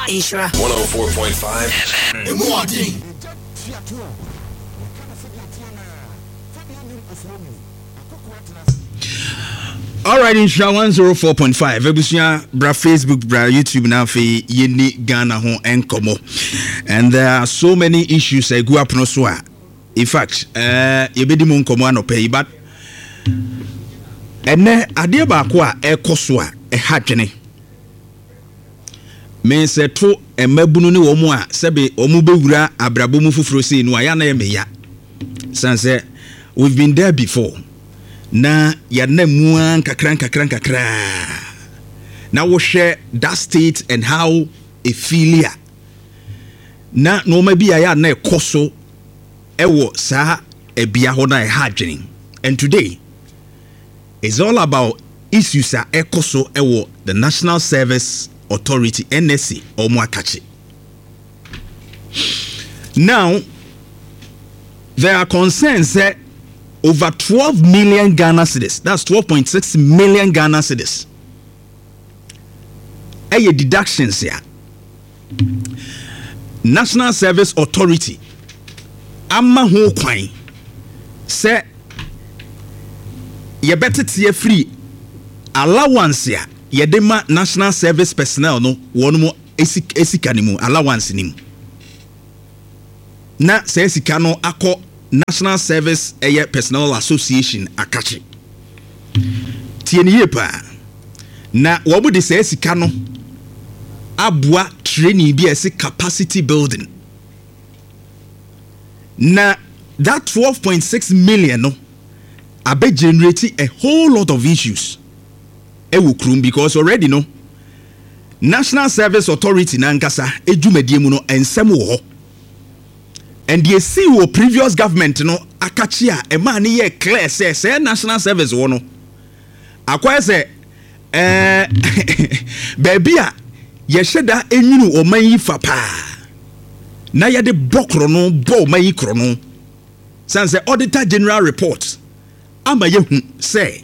Nhyira. 104.5 FM. Emu ɔden. Alright, Nhyira 104.5 abusua bra Facebook bra YouTube na afei yɛni Ghana ho nkɔmmɔ and there are so many issues a ɛgu apono so a in fact yɛbɛdi mu nkɔmmɔ anɔpa yi, but ɛnɛ adeɛ baako a ɛkɔ so a ɛha dwene me sɛ to mmabunu ne wɔn a sɛbe wɔn bɛwura abrabɔ mu foforɔ sei no a yɛ na yɛ meya san sɛ we've been there before na yɛnam mu ara nkakra nkakra nkakra na wohwɛ that state and how ɛfeel a na nneɛma bi a yɛ a na ɛkɔ so ɛwɔ saa ɛbea hɔ no a ɛha adwene. And today it's all about issues a ɛkɔ so ɛwɔ the National Service Authority, NSA, ɔmo akakye. Now there are concerns sɛ over 12 million Ghana cedis, that's 12.6 million Ghana cedis, ɛyɛ deductions a National Service Authority ama ho kwan sɛ yɛbɛtete afiri allowance a yɛde ma national service personnel no wɔn mo esika ne mu, allowance ne mu, na saa sika no akɔ National Service ɛyɛ Personnel Association akakye. Tie ne yie paa, na wɔn de saa sika no aboa training bi a ɛsɛ capacity building, na that 12.6 million no abɛ generate a whole lot of issues ɛwɔ kurom, because already no National Service Authority nankasa edwumadie mu no nsɛm wɔ hɔ, and deɛ esi wɔ previous government no akakye a ɛmaa ne yɛ clear sɛ sɛ national service wɔ no akɔyɛ sɛ baabi a yɛhyɛ da enwunu ɔman yi fa paa na yɛde bɔ korɔ bɔ ɔman yi korɔ no, san sɛ Auditor General report ama yɛhu sɛ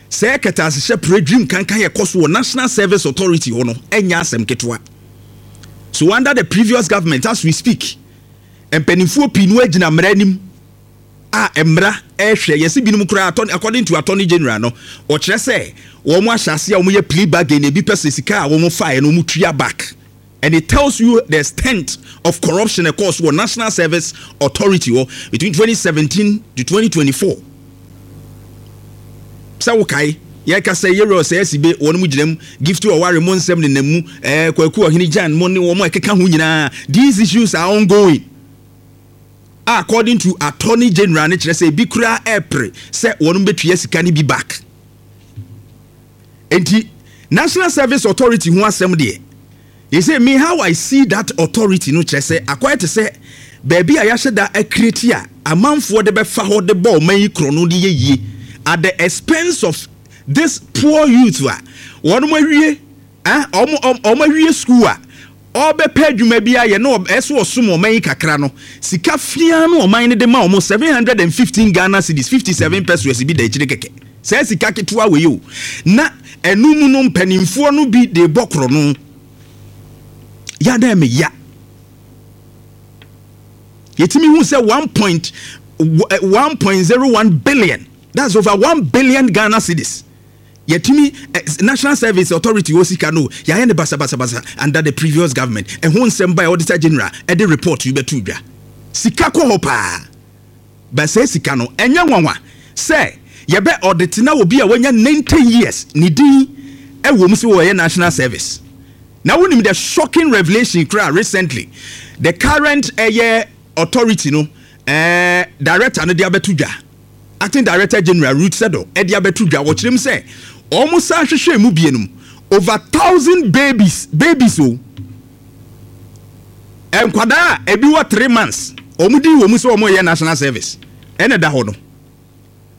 sɛ kɛtɛasehyɛ pere dream kankan yɛ kɔ so wɔ National Service Authority hɔ no ɛnyɛ asɛm ketewa. So under the previous government, as we speak, mpanimfoɔ pii no agyina mmara anim a mmara ɛrehwɛ yɛsi binom koraa. According to Attorney General no, ɔkyerɛ sɛ wɔn ahyɛ ase a wɔyɛ plea bargain, ebi pɛ sɛ sika a wɔn faeɛ no wɔn tua back, and it tells you the extent of corruption ɛkɔɔ so wɔ National Service Authority hɔ between 2017 to 2024. Sɛ wokae, yɛka sɛ yɛwura ɔsɛ asibe wɔn mu gyina mu, Gift ɔware mo nsɛm nenam mu, Kwaku Ɔhene Gyan mo ne wɔn a ɛkeka ho nyinaa, these issues are ongoing. According to Attorney General ne kyerɛ sɛ ebi koraa ɛpere sɛ wɔn bɛtua sika no bi back. Nti National Service Authority ho asɛm deɛ, they say me, how I see that authority no kyerɛ sɛ akɔyɛ te sɛ baabi a yɛahyɛ da acreate a amanfoɔ de bɛfa hɔ de bɔ ɔman yi korɔ no de yɛ yie at the expense of this poor youth a wɔn awie, ah, wɔn awie school a ɔbɛpɛ adwuma bi ayɛ na ɛso ɔsom ɔman yi kakra no. Sika fia no ɔman no de ma wɔn, 715 Ghana cedis 57 pesewas bi da akyire kɛkɛ. Saa sika ketewa wei o, na ɛno mu no mpanimfoɔ no bi de bɔ korɔ no yada me ya. Yɛtumi hu sɛ 1.1.01 billion, that's over 1 billion Ghana cedis, yɛtumi National Service Authority wɔ sika no yɛayɛ ne basabasabasa under the previous government. Ɛho nsɛm ba Auditor General ɛde report yi bɛto dwa. Sika kɔ hɔ paa bɛsɛ sika no ɛnyɛ nwanwa sɛ yɛbɛ audit na obi a wanya 90 years ne din ɛwɔ mu sɛ wɔyɛ national service. Na wonim the shocking revelation kora recently the current ɛyɛ authority no director no de abɛto dwa, Acting Director General Ruth Seddoh ɛde abɛto dwa, wɔkyerɛ mu sɛ wɔn san hwehwɛ mu bie no, over 1,000 babies, babies o, nkwadaa a ebi wɔ 3 months, wɔn di wɔn sɛ wɔn yɛ national service. Ɛna da hɔ no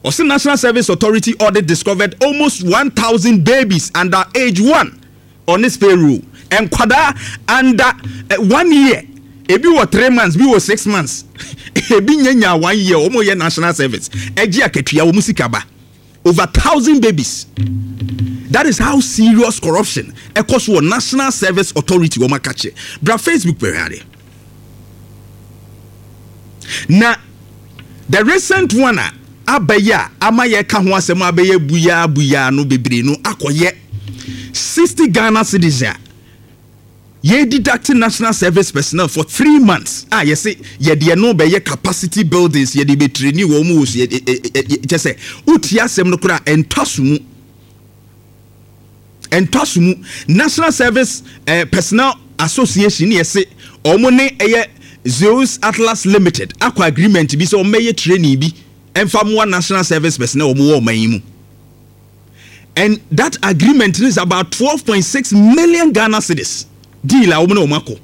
ɔsɛ National Service Authority audit discovered almost 1,000 babies under age 1 on its payroll. Nkwadaa under 1 year, ebi wɔ 3 months, bi wɔ 6 months, ebi nye nya 1 year, wɔn yɛ national service, ɛgye akatua, wɔn sika ba, over 1,000 babies. That is how serious corruption ɛkɔ so wɔ National Service Authority wɔn aka kyerɛ. Bra Facebook bɛhwɛ adeɛ. Na the recent one a aba yi a ama yɛka ho asɛm abɛyɛ buyaa buyaa no bebree no akɔyɛ 60 Ghana cedis a yɛ deduct national service personnel for 3 months a yɛse yɛde ɛno bɛyɛ capacity buildings, yɛde bɛ train wɔn mu wɔ so. Kyɛ sɛ wotie asɛm no koraa, ɛntɔ so mu, ɛntɔ so mu. National Service Personnel Association ne yɛse wɔn ne ɛyɛ Zeus Atlas Limited akɔ agreement bi sɛ wɔn bɛyɛ training bi ɛnfa mmoa national service personnel wɔn wɔ ɔman yi mu, and that agreement is about 12.6 million Ghana cedis deal a wɔn ne wɔn akɔ.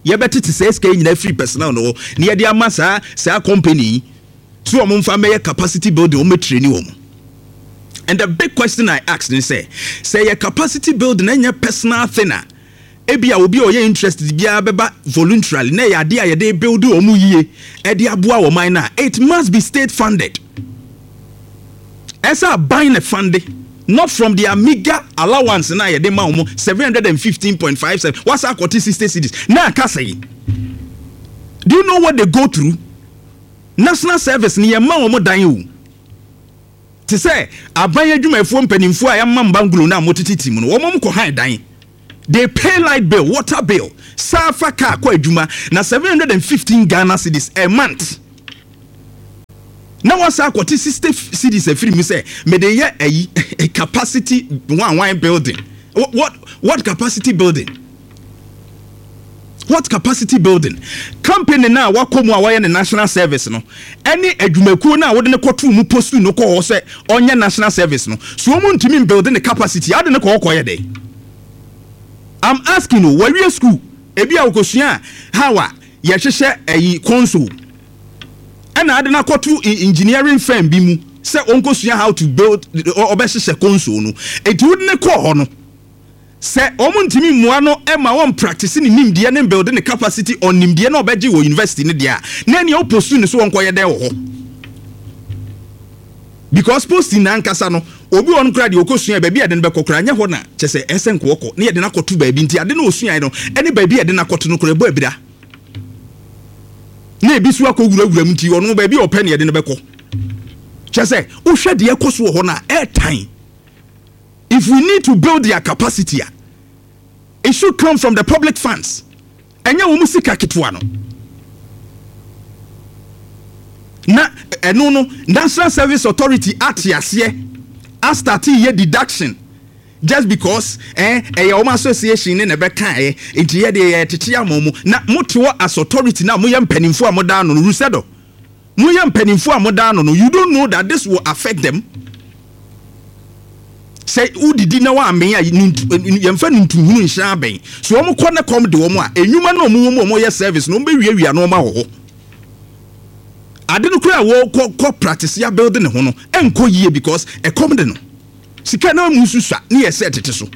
Yɛbɛtete saa sika yi nyinaa firi personnel no hɔ na yɛde ama saa company yi so wɔn mfa mɛyɛ capacity building, wɔn bɛ train wɔn. And the big question I ask ne sɛ yɛ capacity building ɛnyɛ personal thing a ebi a obi a ɔyɛ interested biara bɛba voluntarily, na ɛyɛ adeɛ a yɛde build wɔn yie ɛde aboa wɔn man na it must be state funded. Ɛsɛ aban na fund, not from their meager allowance na yɛde ma wɔn 715.57. Wasa akɔte 60 cedis na aka sɛyi. Do you know what they go through? National service ni yɛn ma wɔn dan o, te sɛ aban adwumayɛfoɔ mpanimfoɔ a yɛama mbangolo na wɔtete ti mu no, wɔn kɔ han dan, they pay light bill, water bill, saafa car kɔ adwuma, na 715 Ghana cedis a month na wasa akɔte 60 cedis afiri mu sɛ mede yɛ ayi capacity one one building. What capacity building? What capacity building? Company na wakɔ mu a wɔyɛ ne national service no ɛne adwumakuo no a wɔde ne kɔto mu post no kɔ hɔ sɛ ɔnyɛ national service no so, wɔn ntumi build ne capacity ade ne kɔ hɔ kɔyɛ dɛ? I'm asking o. Wɔawie school, ebi a wɔkɔsua how a yɛhyehyɛ ɛyi console, ɛna ade no akɔto engineering firm bi mu sɛ ɔnkɔsua how to build, ɔbɛhyehyɛ console no. Eti wode ne kɔɔ hɔ no sɛ wɔn ntumi mmoa no ma wɔn practice ne nimdeɛ ne build ne capacity on nimdeɛ na ɔbɛgye wɔ university ne deɛ a, na nea ɔpost ne so wɔn kɔyɛ dɛ wɔ hɔ? Because posting na ankasa no, obi wɔ no koraa deɛ ɔkɔsua, baabi a yɛde no bɛkɔ koraa nyɛ hɔ na kyɛ sɛ ɛsɛ nkɔɔkɔ ne yɛde no akɔto baabi. Nti ade no ɔsua no ɛne baabi a yɛde no akɔto no koraa ɛbɔ abira, na ebi so akɔ wurawura mu. Nti ɔno baabi a ɔpɛ ne yɛde no bɛkɔ. Kyɛ sɛ wohwɛ deɛ ɛkɔ so wɔ hɔ no a, ɛɛtan. If we need to build their capacity a, it should come from the public funds, ɛnyɛ wɔn sika ketewa no. Na ɛno no, National Service Authority ate aseɛ astart yɛ deduction just because ɛyɛ wɔn association ne na ɛbɛka ɛ. Nti yɛ deɛ yɛ tete ama wɔn na mo te hɔ as authority na mo yɛ mpanimfoɔ a mo da ano no rusɛdo, mo yɛ mpanimfoɔ a mo da ano no, you don't know that this will affect them. Sɛ wodidi na woamee a, yɛmfa no ntuhunu nhyɛ abɛn so. Wɔn kɔ ne kɔm de wɔn a enwuma na wɔn wɔ mu a wɔyɛ service na wɔn bɛwiawia na wɔn ahɔ hɔ ade no koraa a wɔkɔ kɔ practice ya build ne ho no ɛnkɔ yie because ɛkɔm de no, sika na mu nso sua ne yɛ sɛ tete so.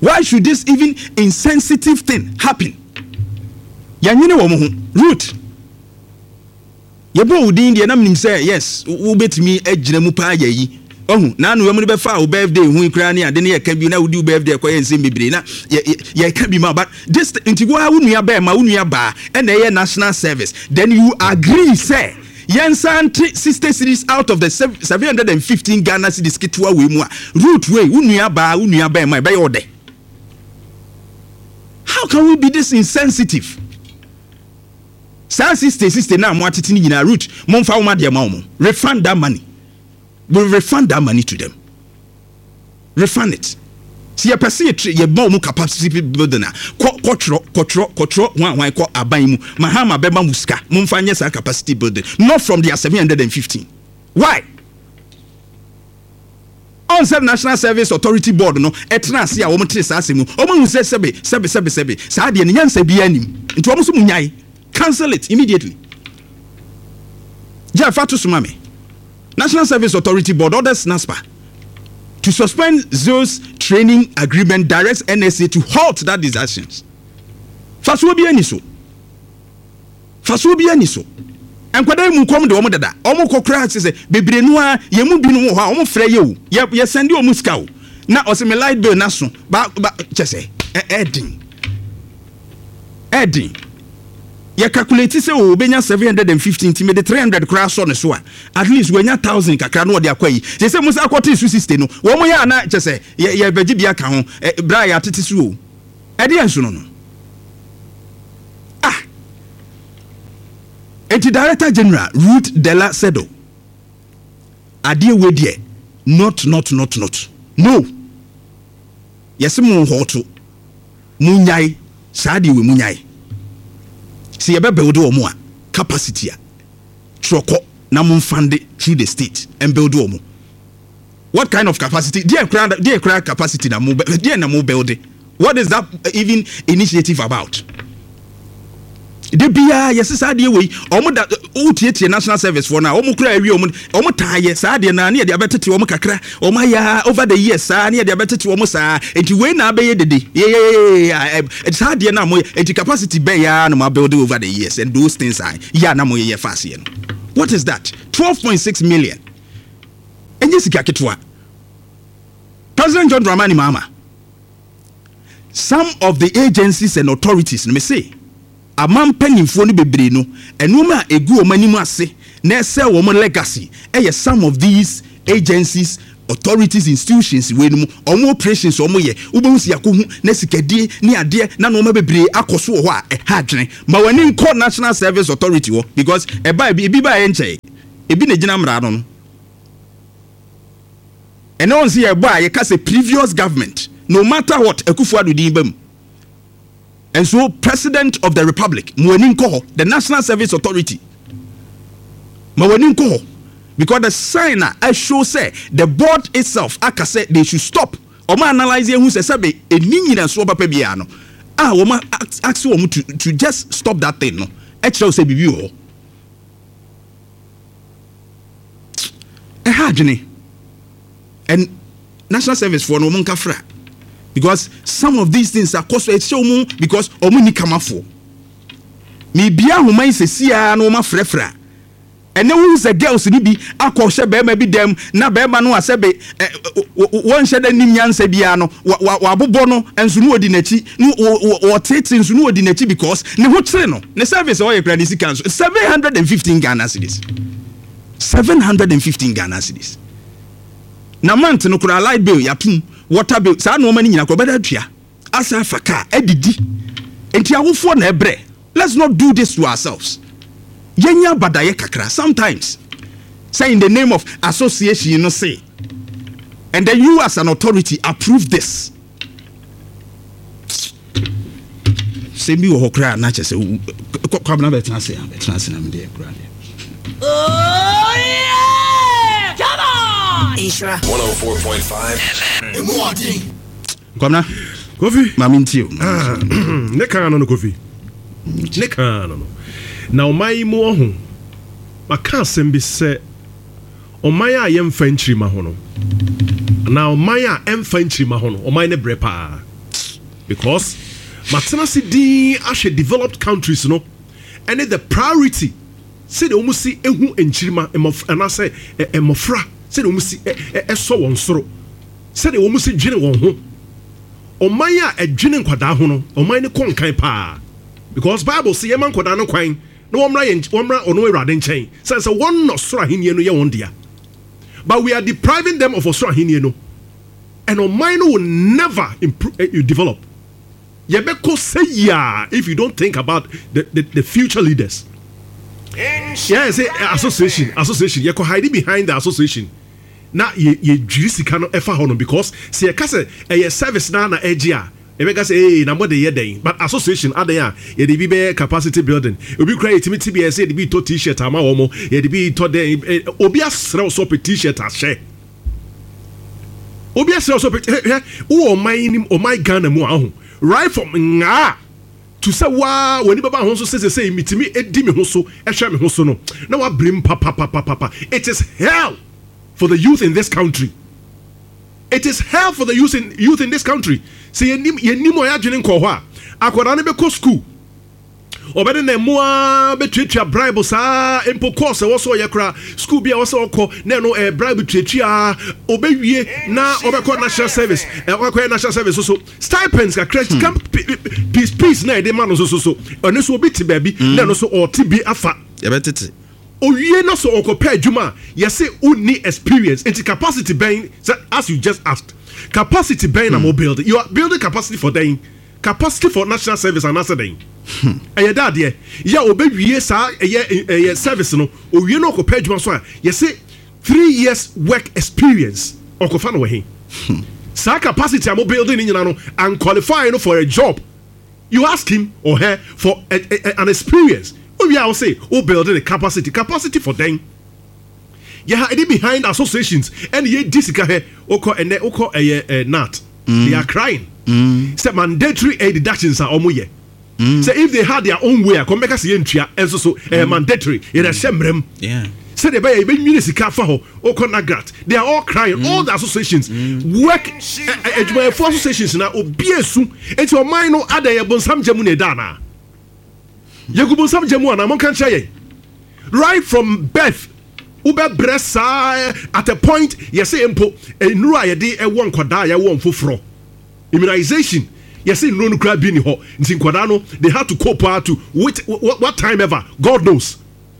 Why should this even insensitive thing happen? Yɛnwene wɔn ho. Ruth, yɛbɔ wo din deɛ na menim sɛ yes, wobɛtumi agyina mu paa. Yɛ yi ɔhu na ano mu no bɛfa wo birthday ho koraa ne ade ne yɛka bi na wodi wo birthday kɔyɛ nsɛm bebree na yɛka bi ma. But this nti wo nua bɛɛma, wo nua baa ɛna ɛyɛ national service, then you agree sɛ yɛnsa nte 60 cedis out of the 715 Ghana cedis ketewa wei mu a, root wei, wo nua baa, wo nua bɛɛma, ɛbɛyɛ ɔdɛ. How can we be this insensitive? Saa 60 60 na mo atete no nyinaa, root, momfa wɔn adeɛ ma wɔn. Refund that money. We refund that money to them. Refund it. Si yɛpɛ sɛ yɛtire yɛma wɔn capacity building a, kɔ kɔtwerɛ kɔtwerɛ kɔtwerɛ hwan hwan kɔ aban mu. Mahama bɛma mo sika, momfa nyɛ saa capacity building, not from their 715. Why? Ɔn sɛ National Service Authority Board no ɛtena ase a wɔn te saa asɛm mu, wɔn ahu sɛ sɛbe sɛbe sɛbe sɛbe saa deɛ no nyansa biara nim, nti wɔn nso mu nyae, cancel it immediately. Gye fa to so ma me. National Service Authority Board orders NASPA to suspend Zeus training agreement, directs NSA to halt that deductions. Fasuo bi ani so, fasuo bi ani so. Nkwadaa mu kɔm de wɔn dada, wɔn kɔ koraa sɛ bebree no a yɛn mu binom wɔ hɔ a wɔn frɛ yɛ o, yɛ send wɔn sika o. Na ɔse me light bill no aso ba ba kyɛ sɛ ɛɛden ɛɛden. Yɛ calculate sɛ o obenya 750 nti mede 300 koraa sɔ ne so a at least wanya 1000 kakra na ɔde akɔ ayi. Sɛ sɛ mo san kɔtee so 60 no wɔn yɛ a na kyɛ sɛ yɛ yɛbɛgye bi aka ho bra yɛatete so o. Ɛdeɛn nso no no? Ah! Enti Director General Ruth Dela Sedo, adeɛ wei deɛ not not not not no! Yɛse mo nhɔɔto, mo nyae saa adeɛ wei mo nyae. Sɛ yɛbɛ build wɔn a, capacity a, twerɛ kɔ na mo nfande through the state ɛnbuild wɔn. What kind of capacity? Deɛ koraa deɛ koraa capacity na mo deɛ na mo build? What is that even initiative about? De biara yɛsi saa adeɛ wei wɔn da wotietie national service foɔ no a wɔn kura awie wɔn wɔn taa yɛ saa adeɛ naa ne yɛde abɛtete wɔn kakra wɔn ayɛ over the years saa ne yɛde abɛtete wɔn saa nti wei na abɛyɛ dede yeyeyeye saa adeɛ na mo yɛ nti capacity bɛyɛ ara na mo abuild over the years and those things are yɛ a na mo yɛ yɛ fa aseɛ no what is that 12.6 million. Ɛnyɛ sika ketewa. President John Dramani Mahama, some of the agencies and authorities no, mese aman mpanimfoɔ no bebree no, nneɛma a ɛgu wɔn anim ase na ɛsɛe wɔn legacy ɛyɛ some of these agencies, authorities, institutions wei no mu, wɔn operations wɔn yɛ, wobɛhu sɛ yɛakɔhu na sikadie ne adeɛ na nneɛma bebree akɔ so wɔ hɔ a ɛha adwene. Ma w'ani nkɔ National Service Authority hɔ because ɛbaa ebi baeɛ nkyɛe. Ebi na egyina mmara ano no. Ɛnɛ wɔn sɛ yɛbɔ a yɛka sɛ previous government no matter what Akufo Addo din ba mu. And so president of the republic mo ani nkɔ hɔ the National Service Authority ma w'ani nkɔ hɔ because the sign a ɛshow sɛ the board itself aka sɛ they should stop wɔn analyse ehu sɛ sɛbe ɛni nyinasoɔ papa biara no a wɔn ask wɔn to just stop that thing no ɛkyerɛ sɛ biribi wɔ hɔ. Ɛha adwene and national service foɔ no wɔn nka fra because some of these things akɔ so ɛhyɛ wɔn because wɔn ni kamafoɔ mebia ahoma yi sɛsi ara na wɔn afrɛfrɛ a ɛnɛ wohu sɛ girls no bi akɔ hyɛ bɛrima bi dɛm na bɛrima no asɛ be wɔnhyɛ dɛ nim nyansa biara no wabobɔ no nso no wɔdi n'akyi no wɔtete nso no wɔdi n'akyi because ne ho kyere no. Ne service a ɔyɛ koraa ne sika nso 715 Ghana cedis. 715 Ghana cedis. Na month no koraa light bill yɛatom, water bill, saa nneɛma no nyinaa koraa ɔbɛda atua. Asa afa car adidi. Nti awofoɔ na ɛbrɛ. Let's not do this to ourselves. Yɛnyɛ abadayɛ kakra sometimes. Sɛ in the name of association no se and then you as an authority approve this. Sɛm bi wɔ hɔ koraa na kyɛ sɛ Kwabena bɛtena ase a bɛtena ase na medeɛ koraa deɛ. Oh yeah! Come on! Nhyira 104.5 FM. Emu ɔden. Kwabena. Kofi. Maame ntie o. Ah, ne kan no no Kofi. Ne kan no no. Na ɔman yi mu ɔho. Maka asɛm bi sɛ Ɔman a yɛmfa nkyirimma ho no anaa ɔman a ɛmfa nkyirimma ho no, ɔman no brɛ paa. Because matena ase dinn ahwɛ developed countries no ɛne the priority sɛdeɛ wɔn si hu nkyirimma, mmɔfra anaasɛ mmɔfra sɛdeɛ wɔn si ɛsɔ wɔn soro, sɛdeɛ wɔn si dwene wɔn ho. Ɔman a ɛdwene nkwadaa ho no, ɔman no kɔ nkan paa. Because Bible se yɛma nkwadaa no kwan na wɔmmra yɛn wɔmmra ɔno Awurade nkyɛn, sɛne sɛ wɔn na ɔsoro ahennie no yɛ wɔn dea. But we are depriving them of ɔsoro ahennie no, and ɔman no will never improve, eh, develop. Yɛbɛkɔ sɛ yia if you don't think about the, the, the future leaders. Yeah, say eh, association, association. Yɛkɔ hide behind the association. Na yɛ yɛdwiri sika no ɛfa hɔ no because sɛ yɛka sɛ ɛyɛ service na na ɛgye a Yɛbɛka sɛ ee na mode yɛ dɛn but association adɛn a yɛde bi bɛyɛ capacity building obi koraa yɛtumi te bi a yɛsɛ yɛde bi retɔ t-shirt ama wɔn yɛde bi retɔ dɛn obi asrɛ wo sɛ ɔpɛ t-shirt ahyɛ obi asrɛ wo sɛ ɔpɛ hwɛ wowɔ ɔman nim ɔman Ghana mu a ɔho right from ngaa to sɛ waa w'ani bɛba ho so sɛ sɛ metumi edi me ho so ɛhwɛ me ho so no na wabrem papapapapa it is hell for the youth in this country. It is hell for the youth in youth in this country. Sɛ yɛnim yɛnim a yɛadwene nkɔɔ hɔ a, akwadaa no bɛkɔ school. Ɔbɛde ne mmoa bɛtuatua bribe saa mpo course ɛwɔ sɛ ɔyɛ koraa school bi a ɛwɔ sɛ ɔkɔ na ɛno ɛyɛ bribe tuatua ɔbɛwie na ɔbɛkɔ national service ɔkɔyɛ national service so stipends kakra sika peace peace na ɛde ma no so so so ɛno so obi te baabi na ɛno so ɔte bi afa. Yɛbɛtete. Owie na sɛ ɔkɔpɛ adwuma a yɛse wonni experience nti capacity bɛn sɛ as you just asked capacity bɛn na mo build you are building capacity for dɛn? Capacity for national service anaasɛ dɛn? Ɛyɛ dɛ adeɛ yɛ a ɔbɛwie saa ɛyɛ ɛyɛ service no owie na ɔkɔpɛ adwuma so a yɛse 3 years work experience ɔkɔfa no wɔ he? Saa capacity a mo building ne nyina no and qualify no for a job. You ask him or her for a, a, an experience. Owie a wose wo building the capacity. Capacity for dɛn? Yɛ ha ɛde behind associations ɛne yɛdi sika hɛ wokɔ ɛnɛ wokɔ ɛyɛ ɛ GNAT. They are crying sɛ mandatory aid deductions a wɔn yɛ sɛ if they had their own way a kɔn bɛka sɛ yɛntua ɛnso so ɛyɛ mandatory yɛde ahyɛ mmerɛ mu sɛdeɛ ɛbɛyɛ yɛbɛnwini sika afa hɔ. Wokɔ NAGRAT, they are all crying. All the associations work adwumayɛfoɔ associations na obi esu eti ɔman no adɛn yɛ bonsam gya mu na ɛda anaa yɛgu bonsam gya mu anaa monka nkyerɛ yɛn. Right from birth wobɛbrɛ saa at a point yɛsɛ mpo nnuro a yɛde ɛwɔ nkwadaa a yɛwɔ mfoforɔ immunization yɛsɛ nnuro no koraa bi ni hɔ nti nkwadaa no they had to cope out to wait what time ever, God knows.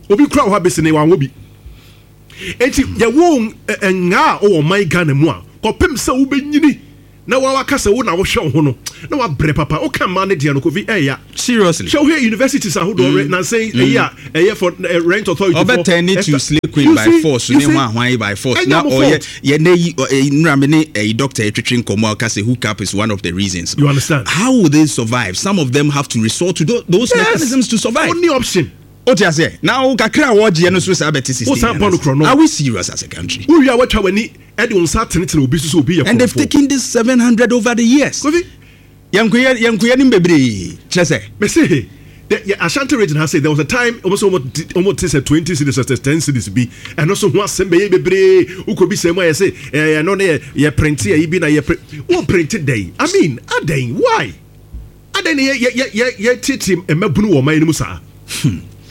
Obi kura wɔ hɔ abɛsi ne wanwɔ bi enti yɛwɔ ngaa a ɔwɔ ɔman Ghana mu a kɔpem sɛ wobɛnyini na wawaka sɛ wo na wohwɛ wo ho no na wabrɛ papa. Woka mmaa no deɛ no, Kofi, ɛyɛ Seriously. Hwɛ wohwɛ universities ahodoɔ nansɛn ɛyi a ɛyɛ for rent authority for ɔbɛtɛn ne to slay queen by force ne ho ahwan by force na ɔyɛ yɛ ne yi nnura mi ne ɛyi doctor etwetwe nkɔmɔ a ɔka sɛ hook up is one of the reasons. You understand? How will they survive? Some of them have to resort to those mechanisms to survive. Only option. O ti aseɛ na wo kakra a wɔgyeɛ no so saa bɛte 16. Wosan bɔ no korɔ no. Are we serious as a country? Wowie a woatwa w'ani de wo nsa atenetene obi so sɛ obi yɛ And they've korɔmfoɔ. Taken this 700 over the years. Kofi. Yɛnkoyɛ yɛnkoyɛ nim bebree kyerɛ sɛ. Mese the yɛ Ashanti Region ha say there was a time wɔn sɛ wɔn ti wɔn te sɛ 20 cedis or 10 cedis bi ɛno so ho asɛm bɛyɛ bebree wokɔ bi sɛ mu a yɛ sɛ ɛɛ ɛno ne yɛ yɛ print ɛyi bi na yɛ print wɔn print dɛn. I mean, adɛn, why adɛn ne yɛ yɛ yɛ yɛ yɛ tete mmabunu wɔ ɔman no mu saa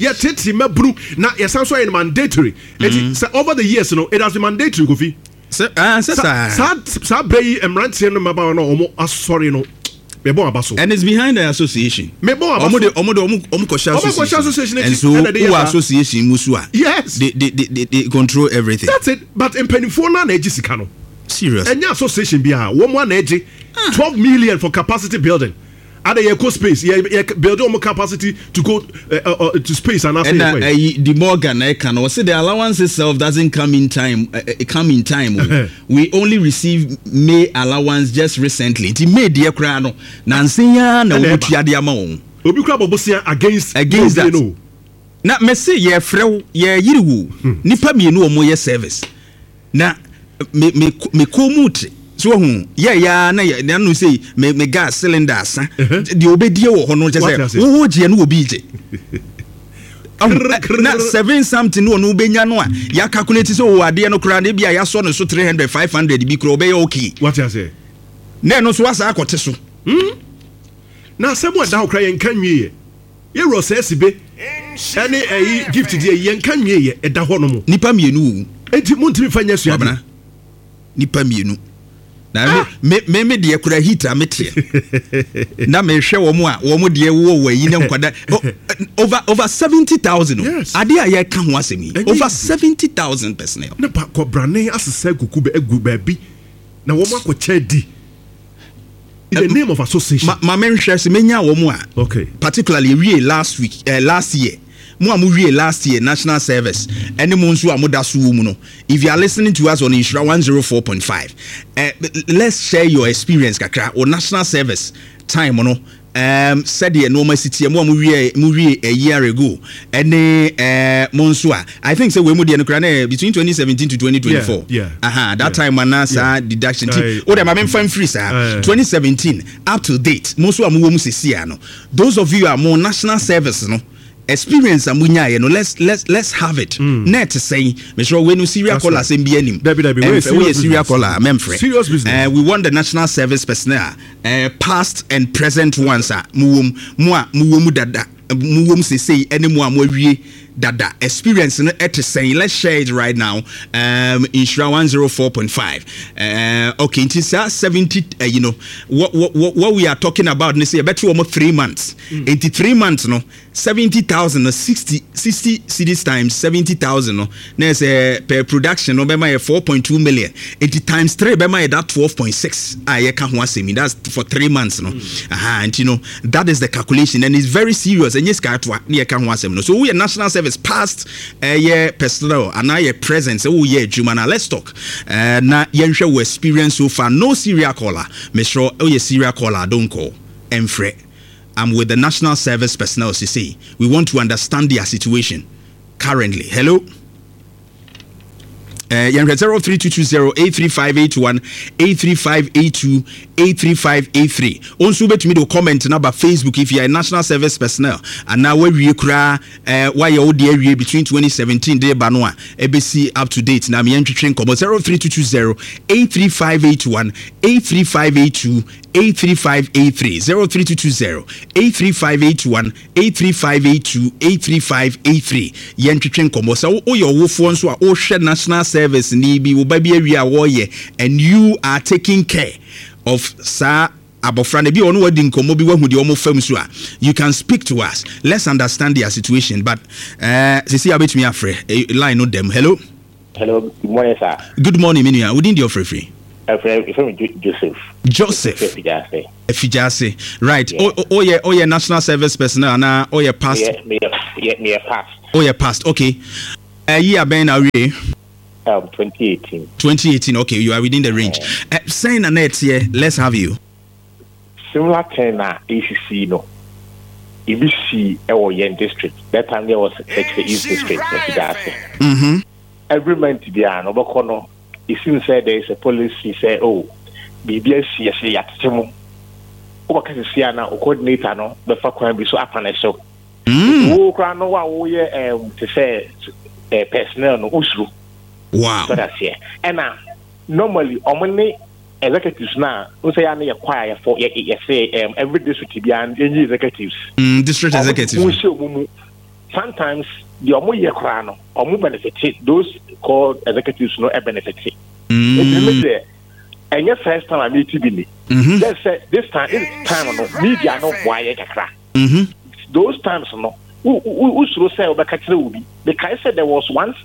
yɛ tete mmabunu na yɛsan so ayɛ no mandatory eti sɛ over the years no it has been mandatory, Kofi. Sɛ ah sɛ saa. Saa saa berɛ yi mmeranteɛ no mmabaawa no a wɔn asɔre no mebɔ aba so. And it's behind the association. Mebɔ aba ɔmo so. De ɔmo de ɔmo kɔhyɛ Ɔmo kɔhyɛ association. Association akyi And so ɛna de yɛ wowɔ saa. Association mu so a. They control everything. That's it, but mpanimfoɔ no a na agye sika no. Serious. Ɛnyɛ association bi a wɔn a na agye 12 million for capacity building ada yɛ kɔ space yɛ yɛ build wɔn capacity to go to space anaasɛ yɛ ɛna kɔ yɛ. Ɛyi di Morgan ɛka no ɔsi the allowance itself doesn't come in time, come in time o. We only receive May allowance just recently nti May deɛ koraa no nansi ya na ɛna wɔn ɛba. tua de ama wɔn. Obi kura bɔ bosia against against that. No. Na mɛsi yɛfrɛ wo yɛyiri wo nipa mmienu wɔn yɛ service na me me me kɔn mu te so wɔn yɛ ya na yɛ nanu sɛ me gas cylinder asa deɛ obedie wɔ hɔ no kyɛ Wate sɛ ase. wɔwɔ gyeɛ no obi gye. Ɔho, na seven something no ɔno wobɛnya no a yɛ calculate sɛ ɔwɔ adeɛ no koraa na ebi a yɛasɔ no so 300 500 bi koraa ɔbɛyɛ okay. Wate ase. Na ɛno nso wasa akɔte so. Na asɛm a ɛda hɔ koraa yɛnka nwie yɛ yɛwura sɛ asibe ɛne ɛyi Gift deɛ yɛnka nwie yɛ ɛda hɔ nom. Nipa mmienu o. Enti montumi fa nyɛ suadeɛ. Kwabena, nipa mmienu na me me me deɛ kura heat a meteɛ na mehwɛ wɔn a wɔn deɛ wɔ wɔ ayi ne nkwada. Oh, over 70,000 o. Adeɛ a yɛka ho asɛm yi Ɛnyɛ over easy. 70,000 personnel. Ne ba kɔbrane asesa gugu bɛ agu baabi na wɔn akɔkyɛ di in the name of association. Ma menhwɛ sɛ menya wɔn a particularly ewie last week, last year, mo a mo wie last year national service ɛne mo nso a mo da so wɔ mu no, if you are listening to us on Nhyira 104.5, let's share your experience kakra o national service time no, sɛdeɛ nneɛma si teɛ mo a mo wie a year ago ɛne mo nso a I think sɛ wei mu deɛ no koraa na between 2017 to 2024. Aha, that time ana saa deduction ti o de ma memfa mfiri saa 2017 up to date mo nso a mowɔ mu sesia no, those of you a mo national service no experience a monyaeɛ no, let's have it net sɛn mesrɛ wei no serial That's caller right. asɛm bi anim. Dabi, dabi, wei Ɛmfrɛ, woyɛ serious serial business. Caller a mɛmfrɛ. Serious business. We want the national service personnel, past and present ones a mowɔ mu, mo a mowɔ mu dada. mo wom sesei ɛne mo a mo awie dada experience no ɛte sɛn? Let's share it right now. Nhyira 104.5. Okay, nti saa 70 you know what we are talking about ne sɛ yɛbɛte wɔn 3 months. Nti 3 months no, 70,000 no, 60 cedis times 70,000 no, na ɛsɛ per production no bɛma yɛ 4.2 million. Nti times three bɛma yɛ that 12.6 a yɛka ho asɛm yi. That's for 3 months no. Aha, nti no, that is the calculation and it's very serious. Ɛnyɛ sika atoa ne yɛka ho asɛm no. So woyɛ national service past, ɛyɛ personnel anaa yɛ present, sɛ woyɛ adwuma na let's talk na yɛnhwɛ wo experience so far. No serial caller, mesrɛ. Woyɛ serial caller, don't call, ɛmfrɛ. I'm with the national service personnel. Sisi, we want to understand their situation currently. Hello. Yɛnhwɛ 03220 83581, 83582, 83583. Wo nso wobɛtumi de wo comment no aba Facebook if you are a national service personnel anaa woawie koraa, woayɛ wo deɛ awie between 2017 de ba no a ɛbɛsi up to date na meyɛntwetwe nkɔmmɔ. 03220 83581, 83582, 83583, 03220 83581, 83582, 83583. Yɛntwetwe nkɔmmɔ. Sɛ woyɛ ɔwofoɔ nso a wohwɛ national service ni bi, wo ba bi awie a wɔreyɛ and you are taking care of saa abɔfra no bi, ɔno wadi nkɔmmɔ bi, wahu deɛ ɔmo fam so a, you can speak to us. Let's understand their situation. But sisi a wobɛtumi afrɛ line no dɛm. Hello. Hello, good morning, sir. Good morning, me nua. Wodin deɛ ɔfrɛfiri? Ɛfrɛ me Joseph. Joseph. Efigyase. Efigyase, right. Oyɛ national service personnel anaa oyɛ past? Meyɛ past. Oyɛ past, okay. Ɛyi abɛn na awie? 2018. 2018, okay, you are within the range. Sɛn na na ɛteɛ? Let's have you. Similar thing na ACC no. Ebi si ɛwɔ yɛn district. That time there was Sekyere East District, Efigyase. Every month biara no, ɔbɛkɔ no, it seems sɛ there is a policy sɛ, oh, biribi asi, yɛsɛ yɛatete mu. Wobɛka sisi a na o coordinator no bɛfa kwan bi so apa ne so. Wo koraa no, wo a woyɛ te sɛ personnel no, wosuro. So that's it. Ɛna normally ɔmo ne executives na n sɛ yɛ ano yɛ kɔ a yɛfɔ yɛ yɛsɛ every district biara yɛnyi executives. District executives. Mo nhyɛ ɔmo mu. Sometimes deɛ ɔmo yɛ koraa no, ɔmo benefit, those called executives no benefit. Nti mi deɛ, ɛnyɛ first time a mi ti bi ni. Just sɛ this time no, media no boa yɛ kakra. Those times no, wo wo wosuro sɛ wobɛka kyerɛ wo bi. Mekae sɛ there was once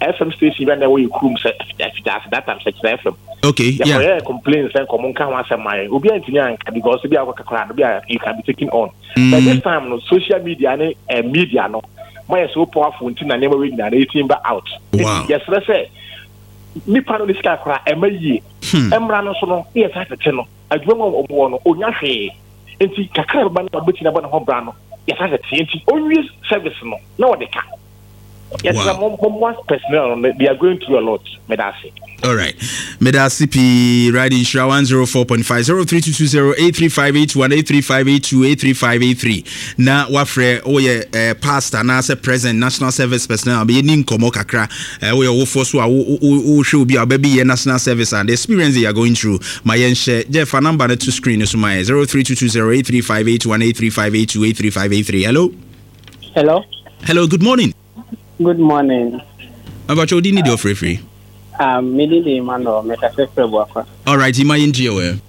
FM station bi a na ɛwɔ yɛ kurom sɛ Ɛfigyase, that time Sɛkyerɛ FM. Yɛkɔyɛ complain sɛ nkɔmɔ nka ho asɛm ma yɛn, obi antumi anka because bi a wɔkɔka koraa no bi a you can be taken on. But this time no, social media ne media no moayɛ so powerful, nti na nneɛma wei nyinaa na ɛtumi ba out. Yɛsrɛ sɛ nipa no ne sika koraa ɛma yie. Mmra no so no, ne yɛsa tete no adwuma mu a ɔmo wɔ no, onya hwee, nti kakra bɛba no a ɔbɛtumi abɔ ne ho bra no, yɛsa tete nti onwie service no na ɔde ka. Yɛsrɛ mo, mommoa personnel no, they are going through a lot. Meda ase. All right. Medase pii. Right, Nhyira 104.5, 03220 83581, 83582, 83583 na wafrɛ. Woyɛ past anaasɛ present national service personnel, yɛni nkɔmmɔ kakra. Woyɛ wofoɔ so a wohwɛ obi a wobɛbi yɛ national service and the experience they are going through, ma yɛnhyɛ. Jeff, fa number no to screen no so ma yɛ: 03220 83581, 83582, 83583. Hello. Hello. Hello, good morning. Good morning. Abacho, wodi ne deɛ ɔfrɛfiri? Me din de Emmanuel, mekasa firi Abuakwa. All right, ima yɛntie wɔ.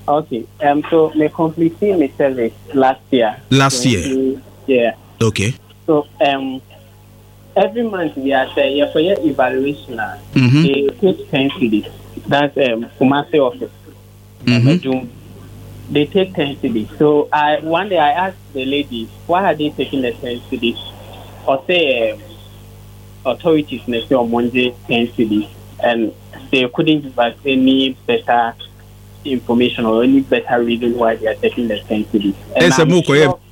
Okay, so me complete my service last year. Last year? Yeah. Okay. So every month we are say yeah, for your evaluation, they take 10 cedis. That's Kumasi office. They take 10 cedis. So I one day I asked the lady, why are they taking the 10 cedis? Or say authorities na say on Monday 10 cedis, and they couldn't give us any better information or any better reason why they are taking the 10 cedis. And I'm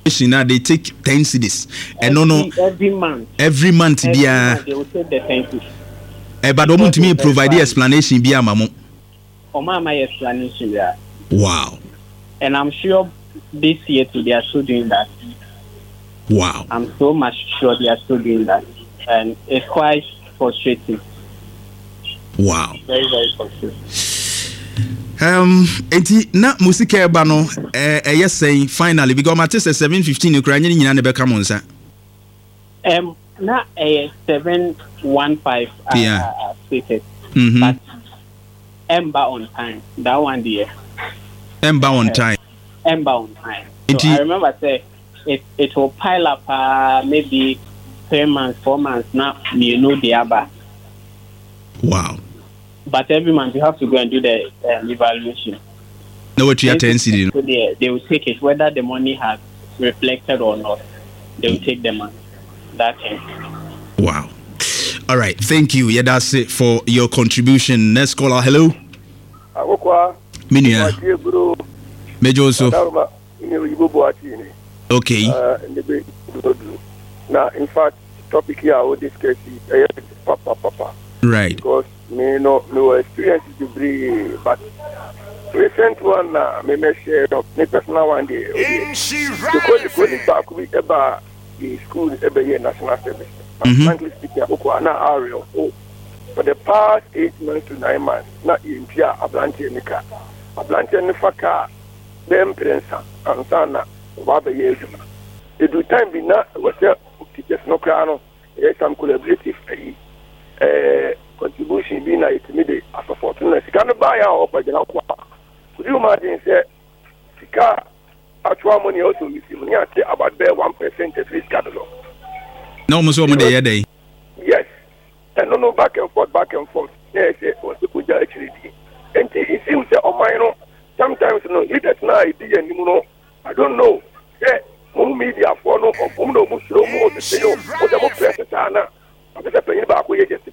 sure now they take 10 cedis. And no. Every month. Every month, every month they will take the 10 cedis. But ɔmo ntumi provide explanation bi ama mo? Ɔmo ama explanation, yeah. And I'm sure this year too they are still doing that. I'm so much sure they are still doing that. And it's quite frustrating. Very, very frustrating. Enti na mo sika ɛba no ɛyɛ sɛn finally because mate sɛ 7:15 koraa nyɛ ne nyinaa na ɛbɛka mo nsa. Na ɛyɛ 715 as stated but ɛmba on time that one deɛ. Ɛmba on time. Ɛmba on time. So I remember sɛ it will pile up paa maybe 3 months, 4 months na mmienu de aba. But every month you have to go and do the evaluation. Na watua 10 cedi no. So they will take it whether the money has reflected or not. They will take the money. That thing. Wow. All right. Thank you, Yɛdaase, for your contribution. Next caller. Hello. Akokwa. Minia. Mejo so. Okay. Na in fact, topic here I will discuss is papa papa. Because me no me wɔ experience bebree, but recent one na me mɛ share no, me personal one deɛ, o deɛ dekɔ ni baako bi ɛba the school ɛbɛyɛ national service. But frankly speaking, akoko ana awerɛho, for the past 8 months to 9 months na yɛntua aberanteɛ ne ka. Aberanteɛ ne fa kaa bɛyɛ mprɛnsa ansa na ɔba abɛyɛ adwuma. Edu time bi na ɛwɔ sɛ teachers no koraa no ɛyɛ some collaborative ayi contribution bi na yɛtumi de asɔfɔto na sika no baeɛ a ɔkɔ gyina kɔ a, could you imagine sɛ sika a actual money a ɔsɛ ɔresi mu ne ate about bɛyɛ 1% afiri sika no so? Na wɔn nso wɔn de yɛ dɛn? Yes, ɛno no, back and forth, back and forth, na yɛ sɛ ɔsɛ kogya akyire di. Nti it seems sɛ ɔman no sometimes no, leaders na edi yɛn anim no, I don't know sɛ mo mediafoɔ no ɔmo na ɔmo suro mo ɔsese o, mo sɛ mo press saa na ɔsɛ sɛ panyin baako yɛ.